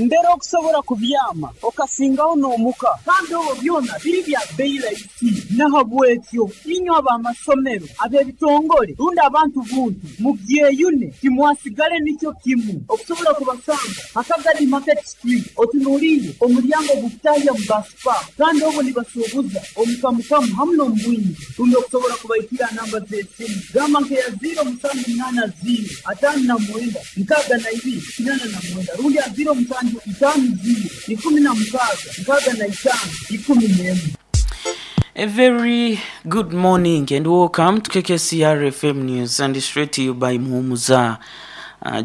Mbere okusobora kubyama okasingaho n'omuka kandi obwo byona biri bya bbeyi raisi. Nahabwekyo inywe ab'amasomero, ab'ebitongore rundi abantu buntu mubyeyune timwasigale nikyo kimu. Okusobola kubasanga ha Kagadi Market Street otunuliire omulyango ogukutahya mu Bus Park kandi obwo nibasuubuza omu kamukamu hamu n'omu bwingi. Rundi okusobola kubaikira ha namba z'esimu gamba nk'eya ziiro musanju munaana ziiro ataano na mwenda 62 89 rundi ha ziiro musanju itaano ziiro 16 65 11. A very good morning and welcome to KKCR FM News and straight to you by Muhumuza.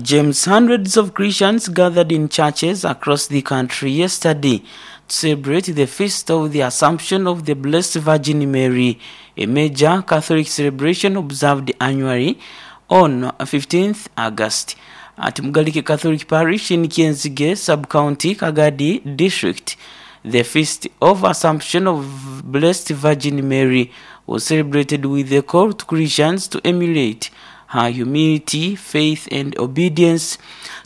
James. Hundreds of Christians gathered in churches across the country yesterday to celebrate the feast of the Assumption of the Blessed Virgin Mary, a major Catholic celebration observed annually on 15th August. At Mugalike Catholic Parish in Kienzige Sub-County, Kagadi District, the feast of Assumption of Blessed Virgin Mary was celebrated with a call to Christians to emulate her humility, faith and obedience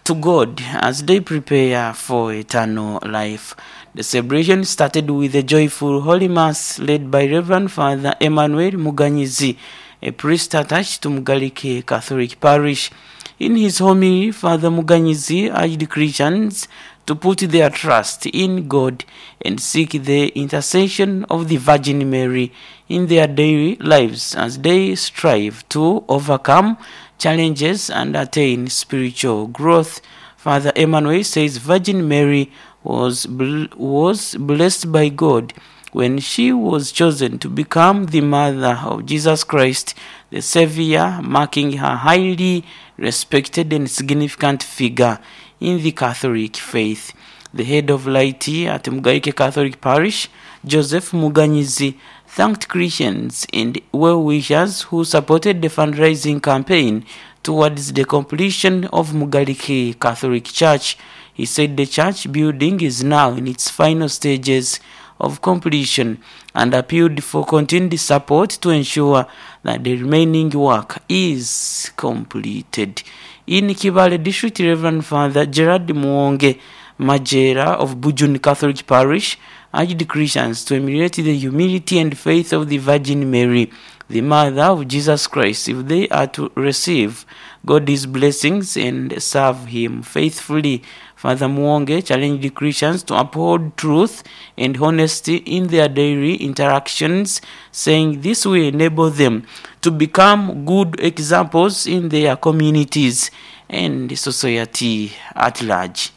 to God as they prepare for eternal life. The celebration started with a joyful Holy Mass led by Reverend Father Emmanuel Muganyizi, a priest attached to Mugalike Catholic Parish. In his homily, Father Muganyizi urged Christians to put their trust in God and seek the intercession of the Virgin Mary in their daily lives as they strive to overcome challenges and attain spiritual growth. Father Emmanuel says Virgin Mary was, bl was blessed by God when she was chosen to become the mother of Jesus Christ, the Savior, marking her highly respected and significant figure in the Catholic faith. The head of Laity at Mugaike Catholic Parish, Joseph Muganyizi, thanked Christians and well-wishers who supported the fundraising campaign towards the completion of Mugalike Catholic Church. He said the church building is now in its final stages of completion and appealed for continued support to ensure that the remaining work is completed. In Kibale District, Reverend Father Gerard Muonge Majera of Bujun Catholic Parish urged Christians to emulate the humility and faith of the Virgin Mary, the mother of Jesus Christ, if they are to receive God's blessings and serve him faithfully. Father Muonge challenged Christians to uphold truth and honesty in their daily interactions, saying this will enable them to become good examples in their communities and society at large.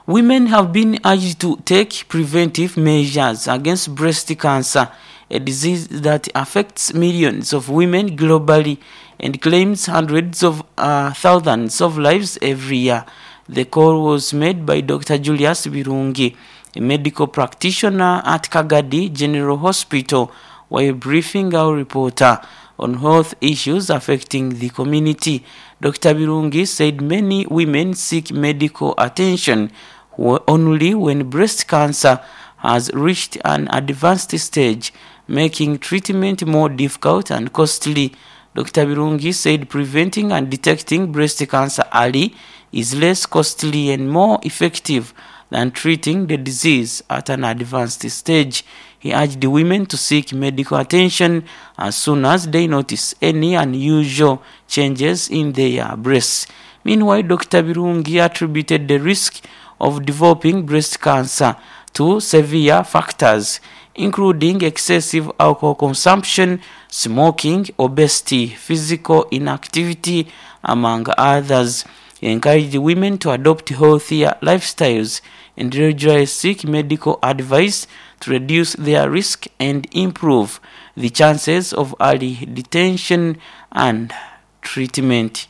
Women have been urged to take preventive measures against breast cancer, a disease that affects millions of women globally and claims hundreds of thousands of lives every year. The call was made by Dr. Julius Birungi, a medical practitioner at Kagadi General Hospital, while briefing our reporter on health issues affecting the community. Dr. Birungi said many women seek medical attention only when breast cancer has reached an advanced stage, making treatment more difficult and costly. Dr. Birungi said preventing and detecting breast cancer early is less costly and more effective than treating the disease at an advanced stage. He urged the women to seek medical attention as soon as they notice any unusual changes in their breasts. Meanwhile, Dr. Birungi attributed the risk of developing breast cancer to severe factors, including excessive alcohol consumption, smoking, obesity, physical inactivity, among others. He encouraged women to adopt healthier lifestyles and regularly seek medical advice to reduce their risk and improve the chances of early detection and treatment.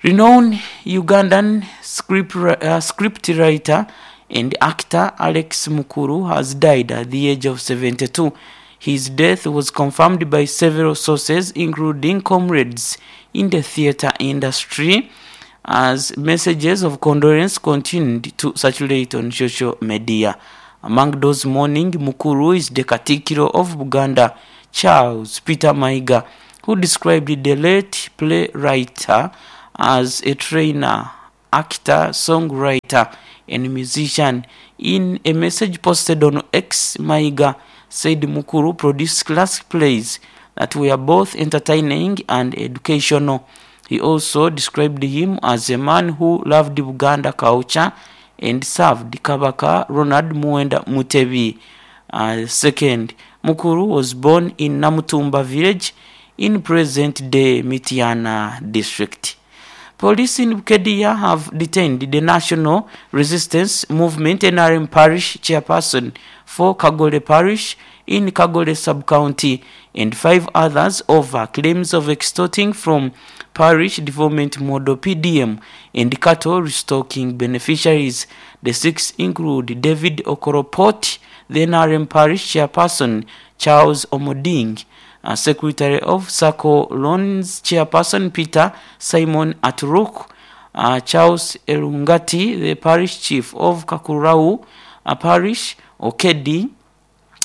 Renowned Ugandan script, script writer and actor Alex Mukuru has died at the age of 72. His death was confirmed by several sources, including comrades in the theater industry, as messages of condolence continued to circulate on social media. Among those mourning Mukuru is the Katikiro of Buganda, Charles Peter Maiga, who described the late playwright as a trainer actor, songwriter, and musician. In a message posted on X, Mayiga said Mukulu produced classic plays that were both entertaining and educational. He also described him as a man who loved Buganda culture and served Kabaka Ronald Muwenda Mutebi II. Mukulu was born in Namutumba village in present-day Mityana district. Police in Bukedia have detained the National Resistance Movement NRM Parish chairperson for Kagole Parish in Kagole sub-county and 5 others over claims of extorting from Parish Development Model PDM and cattle restocking beneficiaries. The 6 include David Okoropot, the NRM Parish chairperson, Charles Omoding, Secretary of SACCO Loans Chairperson Peter Simon Aturuk, Charles Erungati, the Parish Chief of Kakurau Parish, Okedi,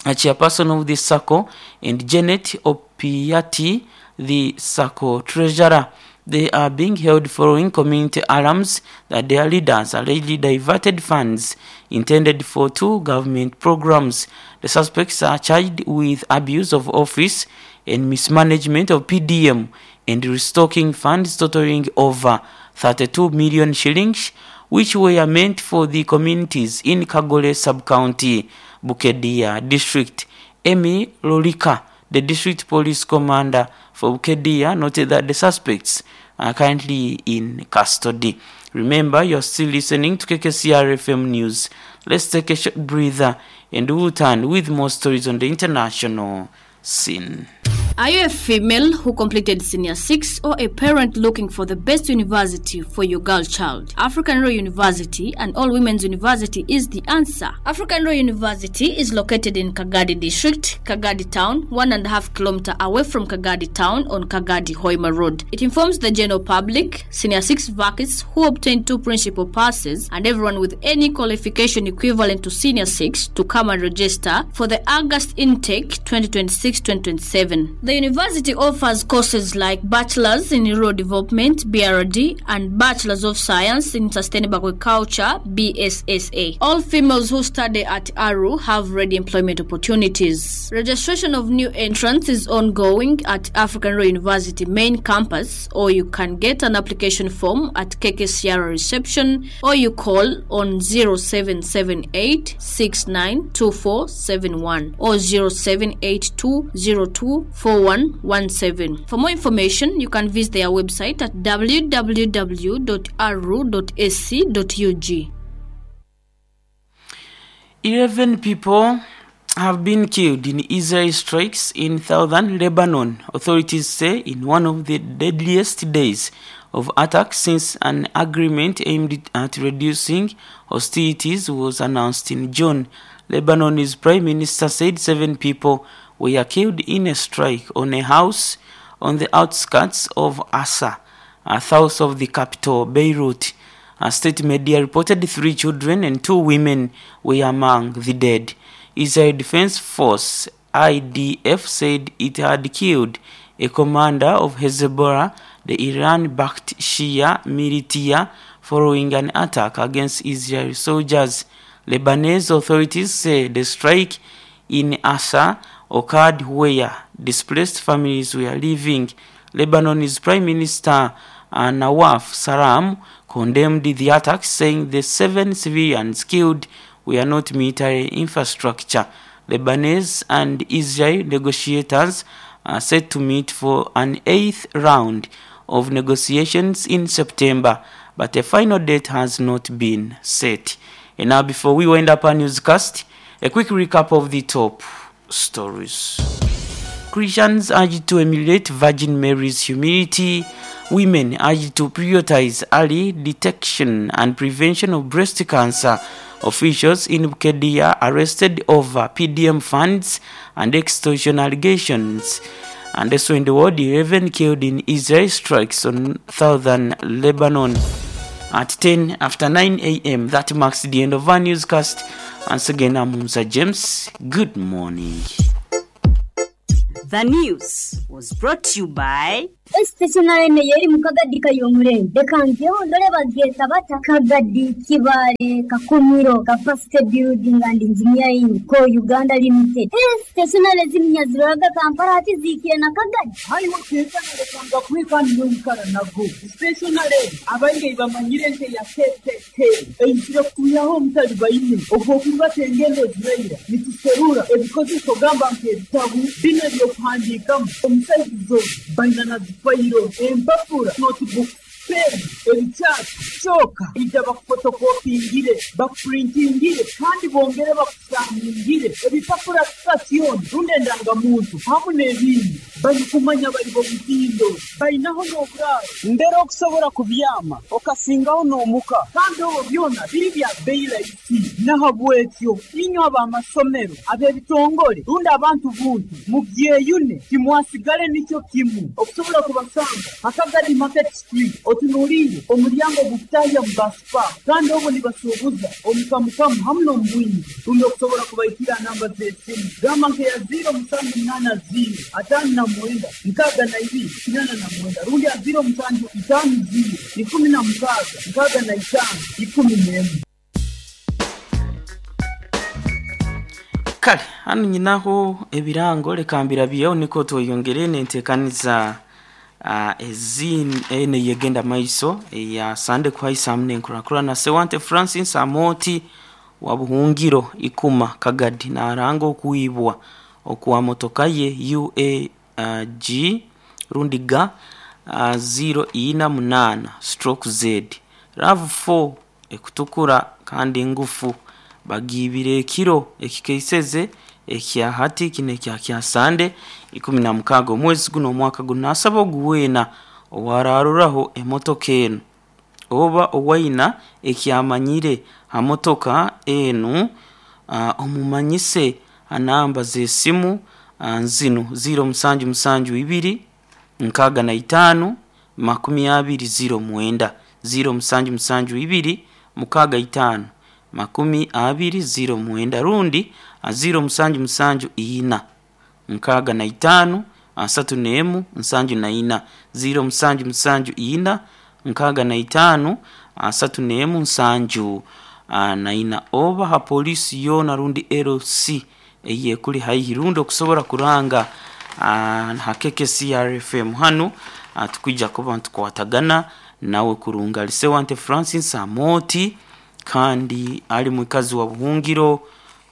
Chairperson of the SACCO, and Janet Opiati, the SACCO Treasurer. They are being held following community alarms that their leaders allegedly diverted funds intended for 2 government programs. The suspects are charged with abuse of office and mismanagement of PDM and restocking funds totaling over 32 million shillings, which were meant for the communities in Kagole sub-county, Bukedia district. Amy Lolika, the district police commander for Bukedia, noted that the suspects are currently in custody. Remember, you're still listening to KKCR FM News. Let's take a short breather and we'll turn with more stories on the international scene. Are you a female who completed Senior 6 or a parent looking for the best university for your girl child? African Royal University and All Women's University is the answer. African Royal University is located in Kagadi District, Kagadi Town, 1.5 kilometers away from Kagadi Town on Kagadi Hoima Road. It informs the general public, Senior 6 vacancies who obtained 2 principal passes, and everyone with any qualification equivalent to Senior 6 to come and register for the August intake 2026-2027. The university offers courses like Bachelor's in Rural Development, BRD, and Bachelor's of Science in Sustainable Agriculture, BSSA. All females who study at ARU have ready employment opportunities. Registration of new entrants is ongoing at African Royal University main campus, or you can get an application form at KKCR reception, or you call on 0778 692471 or 0782 02 4117. For more information, you can visit their website at www.aru.ac.ug. 11 people have been killed in Israeli strikes in southern Lebanon, authorities say, in one of the deadliest days of attacks since an agreement aimed at reducing hostilities was announced in June. Lebanon's prime minister said 7 people were killed in a strike on a house on the outskirts of Assa, south of the capital, Beirut. A state media reported 3 children and 2 women were among the dead. Israel Defense Force, IDF, said it had killed a commander of Hezbollah, the Iran-backed Shia militia, following an attack against Israeli soldiers. Lebanese authorities say the strike in Assa occurred where displaced families were living. Lebanon's Prime Minister Nawaf Salam condemned the attack, saying the 7 civilians killed were not military infrastructure. Lebanese and Israel negotiators are set to meet for an 8th round of negotiations in September, but a final date has not been set. And now, before we wind up our newscast, a quick recap of the top stories. Christians urged to emulate Virgin Mary's humility. Women urged to prioritize early detection and prevention of breast cancer. Officials in Bukedia arrested over PDM funds and extortion allegations. And also in the world, 11 killed in Israel strikes on southern Lebanon. At 10 after 9 a.m., that marks the end of our newscast. Once again, I'm Musa James. Good morning. The news was brought to you by Stationery neyo eri mu Kagadi Kayomurembe. Leka njeho ndole bagyeta bata. Kagadi, Kibaale, Kakumiro, Capacity Building and Engineering Co Uganda Limited. Stationery ezindi nyaziroraga Kampala hati zihikire na Kagadi. Haiwe kwekana lekanga kweka niwe wikara nago. Stationery abaingi bamanyire nte ya KKK. Eizire kutuyaho omutali baine. Obwokurubata engendo ziraira. Nituserura ebikozeso gamba nk'ebitabu bino ebyokuhandiikamu omusaizi baina na zifayiro empapura notebook pen ebikyapa kyoka ija bakufotokopingire bakupurintingire kandi bongere bakusaningire ebipapura sitasioni rundi endangamuntu hamu n'ebindi barikumanya bari bomutindo bainaho n'oburaaro mbere okusobora kubyama okasingaho n'omuka kandi obwo byona biri bya bei rahisi. Nahabwekyo inywe ab'amasomero ab'ebitongole rundi abantu buntu mubyeyune timwasigale nikyo kimu okusobola kubasanga Akagadi Market Street otunuliire omulyango ogukutahya mu basipa kandi obwo nibasuubuza omukamukamu hamu n'omubwingi rundi okusobola kubaikira namba z'esimu gamba nkeya 0780 59 62 89 rundi ya 0750 16 65 11. Kale hano nyinaho ebirango leka mbirabyeho niko tweyongere nenteekaniza eno yegenda maiso eya Sande kuhaisa hamwe nenkurakurana. Sewante Francis Amoti wa Buhungiro Ikuma Kagadi naranga okuibwa okwa motoka ye UAG rundi ga 048 stroke Z RAV4 ekutukura kandi ngufu bagibire ekiro ekikeiseze ekya hati kino ekya kya Sande 16 omwezi guno omwaka guno. Nasaba oguweena owararuraho emotoka enu oba owaina ekyamanyire ha motoka enu omumanyise anamba z'esimu nzinu 0772 65 20 09 0772 65 20 09 rundi 0774 65 31 74 0774 65 31 74 oba ha polisi yoona rundi LC eyekuli haihi rundi okusobora kuranga ha KKCRFM hanu tukwija kuba ntukwatagana nawe kurunga. Alisewante Francis Amoti kandi ali mwikazi wa Buhungiro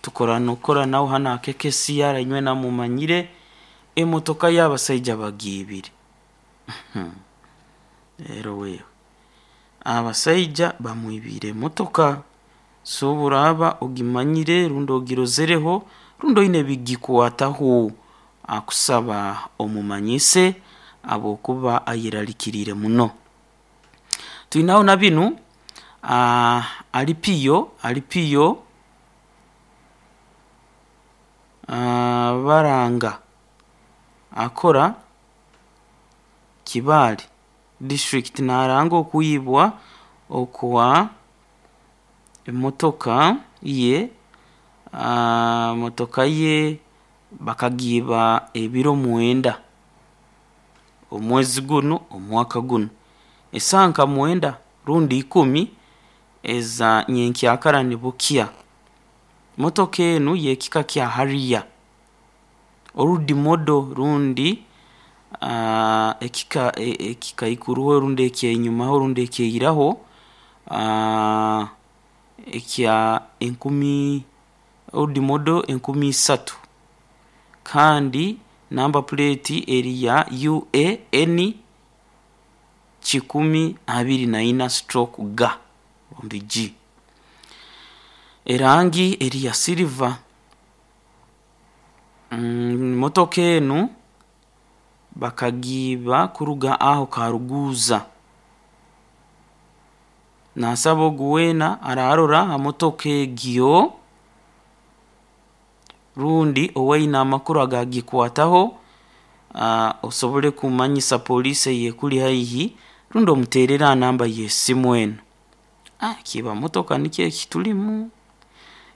tukorana okora nawe hano ha KKCR inywe namumanyire emotoka y'abasaija bagiibire. Rero wewe abasaija bamwibire emotoka so oburaba ogimanyire rundi ogirozereho rundi oine ebigikwataho akusaba omumanyise habwokuba ayeralikiriire muno. Twinaho na binu alipiyo baranga akora Kibaale district naranga okuibwa okwa emotoka ye motoka ye bakagiiba ebiro 9 omwezi guno omwaka guno esaaha nka 9 rundi 10 eza nyenkyakara nibukya. Motoka enu yekika kya Harrier orudi modo rundi ekika ekikaikuruho rundi ekyenyumaho rundi ekyeiraho ekya enkumi orudi modo 3000 kandi namba plate eri ya UAN 124 stroke G rundi G erangi eri ya silver. Motoka enu bakagiiba kuruga aho Karuguza. Nasaba ogu weena ararora ha motoka egyo rundi owaine amakuru agagikwataho osobole kumanyisa polisi eyekuli haihi rundi omuterere aha namba y'esimu enu. Kiiba motoka nikyo ekitulimu.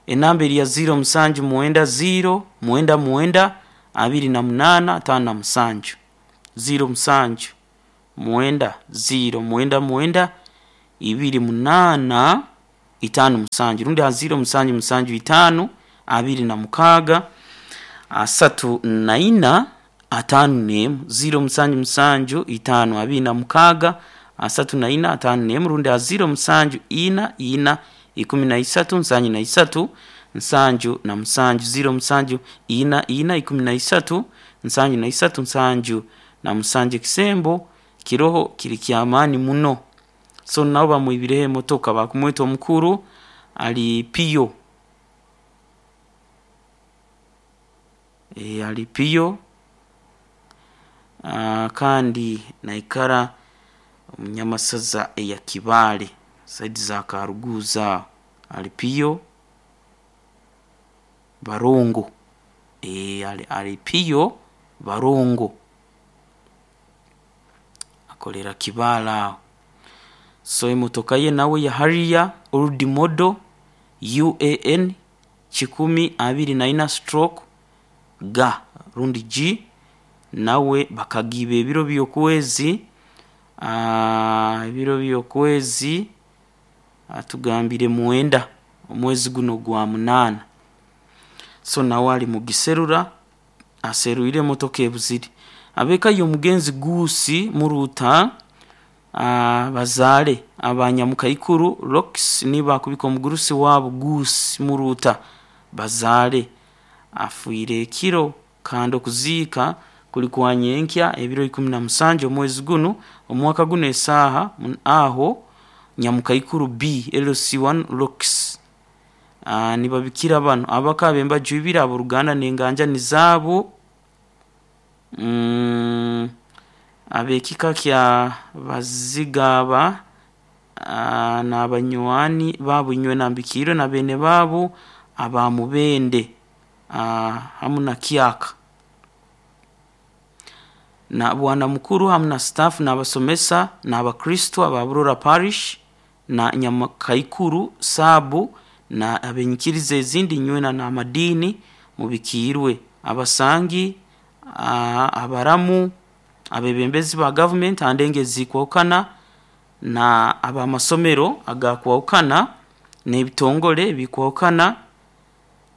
Enamba eri ya 0790 99 28 57 07 mwenda 0 mwenda mwenda ibiri munaana itaano musanju rundi ha 0 musanju musanju itaano abiri na mukaaga asatu na ina ataano n'emu 0 musanju musanju itaano abiri na mukaaga asatu na ina ataano n'emu rundi ha 0 musanju ina ina ikumi na isatu nsanju na isatu nsanju na musanju 0 musanju ina ina ikumi na isatu nsanju na isatu nsanju na musanju. Ekisembo kiroho kiri kyamaani muno. So nabo bamwibireho emotoka bakumweta omukuru ali piyo e, ali piyo kandi naikara omunyamasaza eya Kibaale saidi za Karuguza ali piyo barongo e, ali piyo barongo akolera Kibaale aho. So emotoka ye nawe ya Harrier old model UAN 124 stroke ga rundi G nawe bakagiba ebiro by'okwezi ebiro by'okwezi atugambire mwenda omwezi guno gwa munaana. So nawe ali mugiserura aseruire emotoka ebuziri. Abeka y'omugenzi Guusi Muruta bazaale abanyamukaikuru Rox nibakubika omugurusi waabo Guusi Muruta bazaale afiire ekiro kandi okuziika kuli kwa nyenkya ebiro 17 omwezi guno omwaka guno esaaha aho nyamukaikuru B LC1 Rox nibabikira bano abaka bembaju ibiri aboruganda n'enganja nizaabo ab'ekika kya Bazigaba n'abanywani baabo inywe nambikiirwe na beene baabo aba Mubende hamu na Kyaka na bwana mukuru hamu na staff n'abasomesa n'abakristo aba Burora Parish na Nyamakaikuru Saabu na abenyikiriza ezindi nywena n'amadiini mubikiirwe abasangi abaramu abebembezi ba gavumenti andenge zikwawukana na abamasomero agakwawukana n'ebitongole bikwawukana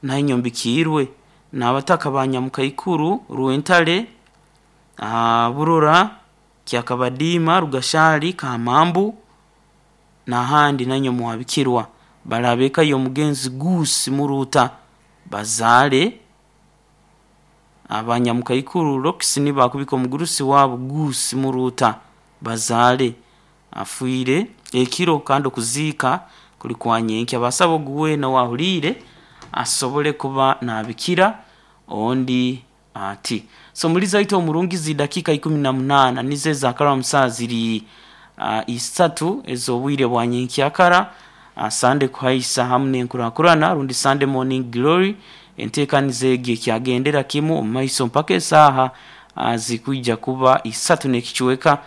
nainyo mbikiirwe n'abataka ba Nyamukaikuru Rwentale Burora Kyakabadiima Rugashali Kamambu n'ahandi nanyo muhabikirwa barabeka y'omugenzi Guusi Muruta bazaale abanyamukaikuru Rox nibakubika omugurusi waabo Guusi Muruta bazaale afiire ekiro kandi okuziika kuli kwa nyenkya. Basaba ogu weena wahuliire asobole kuba nabikira ondi ati. So muliza waitu omurungi zi dakika 18 nizo ezakara musaa ziri isatu ez'obwire bwa nyenkyakara. Sande kuhaisa hamu n'enkurakurana rundi Sunday morning glory enteekaniza egi ekyagendera kimu omu maiso mpaka esaaha zikwija kuba isatu n'ekicweka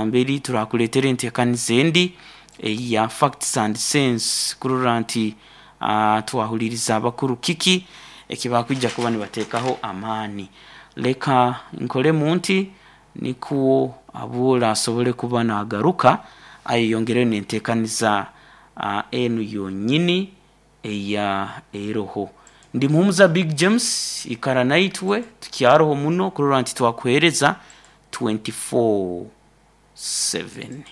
mberi turakuleetera enteekaniza endi eya facts and sense kurora nti twahuliriza abakuru kiki ekibakwija kuba nibateekaho amaani. Leka nkolemu nti nikwo abuura asobole kuba nagaruka ayeyongereyo n'enteekaniza enu yonyini eya eroho. Ndi Muhumuza Big James ikara naitwe tukyaroho muno kurora nti twakuheereza 24/7.